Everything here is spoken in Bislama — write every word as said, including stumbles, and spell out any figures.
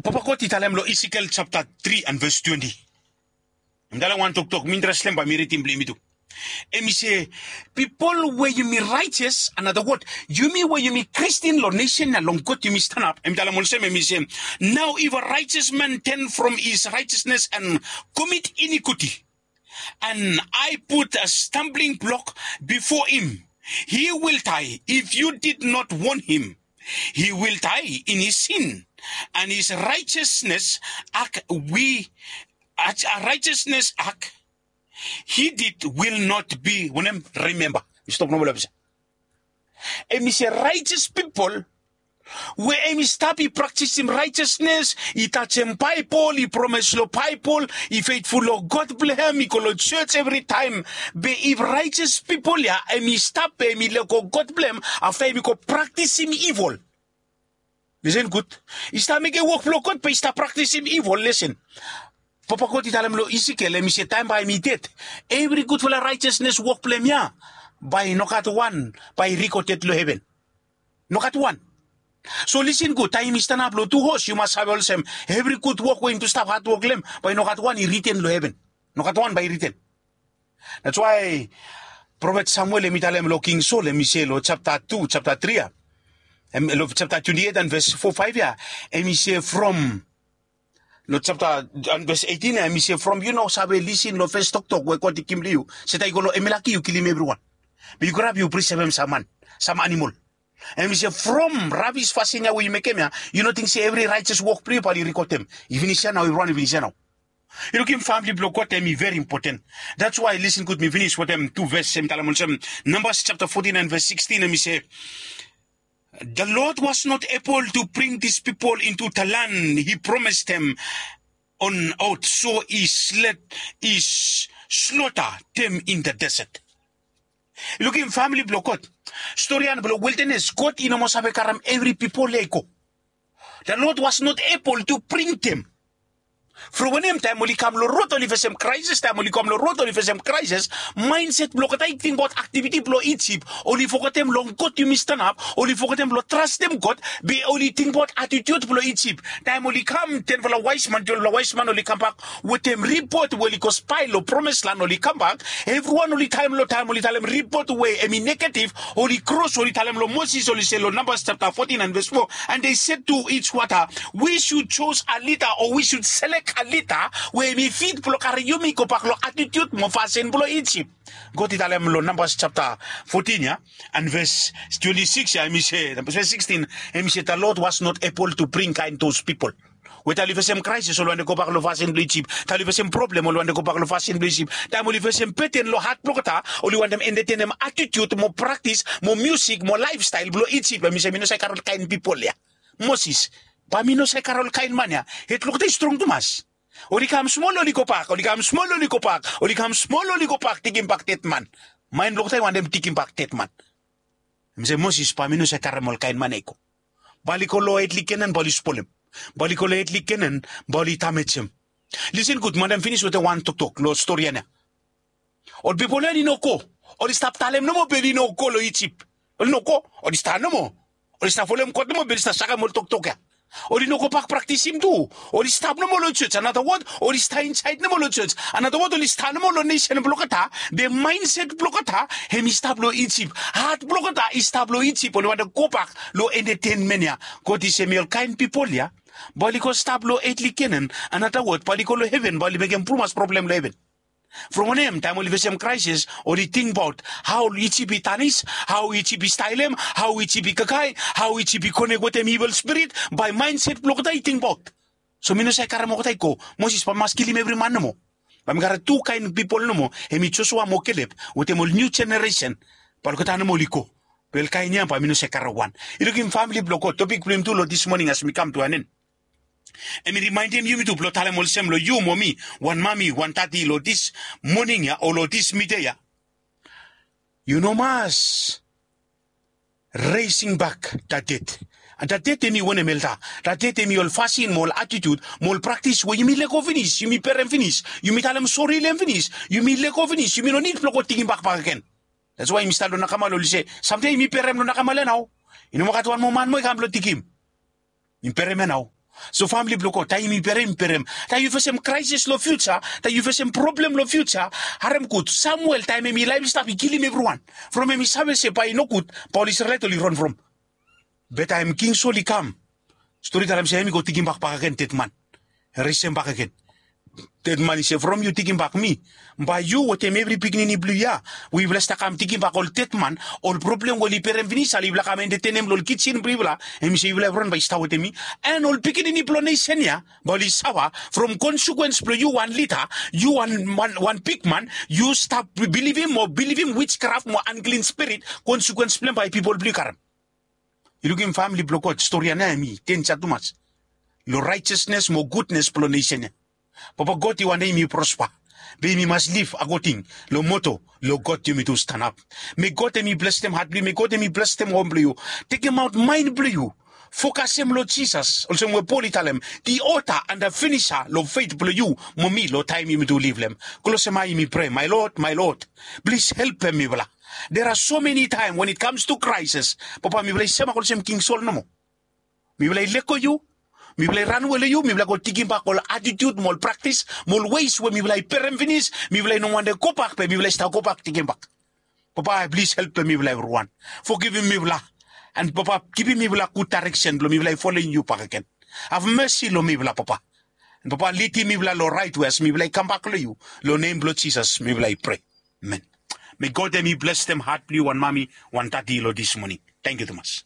Papa God i talem long Ezekiel chapter three and verse twenty. Em talem wan toktok mi interestem bae mi ridim blong yumi tu. Em i se, pipol we yumi raetes, another word, yumi we yumi Kristin long nesen ya long God yumi stanap. Em talem olsem, em i se, now if a righteous man turn from his righteousness and commit iniquity, and I put a stumbling block before him, he will die. If you did not warn him, he will die in his sin, and his righteousness act we a righteousness act he did will not be wanem, remember. Mi stop nomo long pesa. Em i se righteous pipol we em i stap i praktisim righteousness, i tajem Baebol, i promes long Baebol, i feitful long God blong hem, i go long jos evritaem. Be if righteous pipol ya em i stap be em i lego God blong hem, afta em i go praktisim ivol, lisen gud, i stap mekem wok blong God be i stap praktisim ivol, lisen. Papa God i talem long Ezekiel, em i se taem bae em i ded, evri gudfala righteousness wok blong hem ya bae nogat wan bae i rikoded long heven. Nogat wan. So lisen gud, taem yumi stanap long tu hos, yu mas save olsem, evri gud wok we yumi tu stap hadwok long hem, bae nogat wan i riten long heven. Nogat wan bae i riten. That's why profet Samuel em i talem long King Saul, em i se long chapter two, chapter three ya, em, long chapter twenty-eight and verse four, five ya, em i se from, long chapter and verse eighteen ya, em i se from yu no save lisen long fes toktok we God i givim long yu, se taem yu go long Amalek yu kilim evriwan. Be yu grab yu prisevem sam man, sam animol. Em i se from rabis fasin ya we yu mekem ya, yu no ting se evri righteous wok blong yu bae oli rikodem. I finis ya nao, evriwan i finis ya nao. Yu lukim, famili blong God, em i very important. That's why, lisen gud, mi finis wetem tu ves, em i talem olsem, Numbers chapter fourteen and verse sixteen, em i se, the Lord was not able to bring this people into the land he promised them on oath, so he slay, he slaughter them in the desert. Yu lukim, famili blong God, storian blong wildanes, God i no moa save karem evri pipol ya i go. The Lord was not able to bring them. From wanem, taem oli kam long rod oli fesem kraeses, taem oli kam long rod oli fesem kraeses, maenset blong olgeta i tingbaot aktiviti blong Ijip. Oli fogetem long God yumi stanap, oli fogetem blong trastem God, be oli tingbaot atitiut blong Ijip. Taem oli kam, tenfala waesman, twelvefala waesman oli kambak wetem ripot we oli go spae long promes lan, oli kambak, evriwan oli talem long, taem oli talem ripot we em i negative, oli kros, oli talem long Moses, oli se long Numbers chapter fourteen and verse four, and they said to each other, we should choose a leader, or we should select a leader we em i fit blong karem yumi gobak long atitiut mo fasin blong Ijip. God i talem long Numbers chapter fourteen ya, and verse twenty-six ya, em i se, verse sixteen, em i se, the Lord was not able to bring kaen those people. We taem oli fesem kraeses, oli wantem gobak long fasin blong Ijip. Taem oli fesem problem, oli wantem gobak long fasin blong Ijip. Taem oli fesem beten long hat blong olgeta, oli wantem entetenem atitiut mo praktis mo miusik mo laefstael blong Ijip. Em i se mi no save karem ol kaen pipol ya. Moses, bae mi no save karem ol kaen man ya. Hed blong olgeta i strong tumas. Oli kam smol, oli gobak, oli kam smol, oli gobak, oli kam smol, oli gobak, digimbak dedman. Maen blong olgeta i wantem digimbak dedman. Em i se, Moses, bae mi no save karem ol kaen man ya i go. Bae oli go long etli Kenan, bae oli spolem. Bae oli go long etli Kenan, bae oli damejem. Lisen gud, mi wantem finis wetem wan toktok long storian ya. Ol pipol ya oli no go. Oli stap talem nomo be oli no go long Ijip. Oli no go. Oli stap nomo. Oli stap folem God nomo be oli stap sakem ol toktok ya. Oli no gobak praktisim tu. Oli stap nomo long jos. Another word, oli stap insaed nomo long jos. Another word, oli stap nomo long nesen blong olgeta. Be maenset blong olgeta em i stap long Ijip. Hat blong olgeta i stap long Ijip. Oli wantem gobak long entetenmen ya. God i se, mi ol kaen pipol ya, bae oli go stap long etli Kenan. Another word, bae oli go long heven, bae oli mekem tumas problem long heven. From wanem, taem oli fesem kraeses, oli tingbaot hao Ijip i tanis, hao Ijip i staelem, hao Ijip i kakae, hao Ijip i konek wetem evil spirit, bae maenset blong olgeta i tingbaot. So mi no save karem olgeta i go. Moses, bae mi mas kilim evri man nomo. Bae mi karem tu kaen pipol nomo, em i Josua mo Kelep, wetem ol niu jeneresen, bae olgeta nomo oli go. Be ol kaen ya bae mi no save karem wan. Yu lukim, famili blong God, topik blong yumi tu long this morning as mi kam tu an en, em i rimaendem yumi tu blong talem olsem long yu mo mi, wan mami, wan dadi, long this morning ya o long this midei ya, yu no mas raising back that debt. And that debt em i wanem, elda? That debt em i ol fasin mo ol atitiut mo ol praktis we yumi lego finis, yumi berem finis, yumi talem sori long hem finis, yumi lego finis, yumi no nid blong go digimbak bakegen. That's why yumi stap long nakamal, oli se, samtaem yumi berem long nakamal ya nao. I no moa gat wan moa man moa i kam blong digim. Yumi berem ya nao. So famili blong God, taem yumi perem yumi perem, taem yu fesem kraesis long fiuja, taem yu fesem problem long fiuja, harem gud. Samuel, taem hem i laef i stap, i kilim evriwan. From hem i save se bae i nogud, bae ol Isrelaet oli ron from. Be taem King Sol i kam, stori talem se hem i go tekimbak bakegen dedman. Resem bakegen. Dedman i se, from yu tekimbak mi, bae yu wetem evri pikinini blong yu ya, we yufala stap kam tekimbak ol dedman, ol problem we oli perem finis, ale yufala kam entetenem long ol kijin blong yufala. Hem i se yufala evriwan bae i stap wetem mi. An ol pikinini blong nesen ya bae oli safa from konsekuens blong yu wan lida, yu wan, wan, wan bigman, yu stap bilivim mo bilivim wijkraf mo anklin spirit, konsekuens blong hem bae pipol blong yu karem. Yu lukim famili blong God, stori ya nao hem i denja tumas long raejasnes mo gudnes blong nesen ya. Papa God, i wantem yumi prospa. Be yumi mas liv akoding long moto, long God yumitu stanap. Me God hem i blesem hat blong yu, me God hem i blesem hom blong yu. Tekemaot maen blong yu, fokasem long Jisas, olsem we Pol i talem, the author and the finisher long fet blong yu mo mi, long taem yumitu liv long hem. Klosem ae yumi prea, my Lord, my Lord, plis helpem mifala. There are so many time when it comes to crisis, Papa, mifala i semak olsem King Sol nomo. Mifala i lego yu, mifala i ranwe long yu, mifala i go tekimbak ol atitiud mo ol praktis mo ol weis we mifala i perem finis, mifala i no wantem gobak be mifala i stap gobak tekimbak. Papa, plis helpem mifala evriwan. Fogivim mifala. An Papa, givim mifala gud daereksen blong mifala i folem yu bakegen. Have mesi long mifala, Papa. An Papa, lidim mifala long raet we as mifala i kambak long yu. Long nem blong Jisas mifala i prea. Amen. Me God hem i blesem hat blong yu, wan mami, wan dadi, long dis moning. Tangkiu tumas.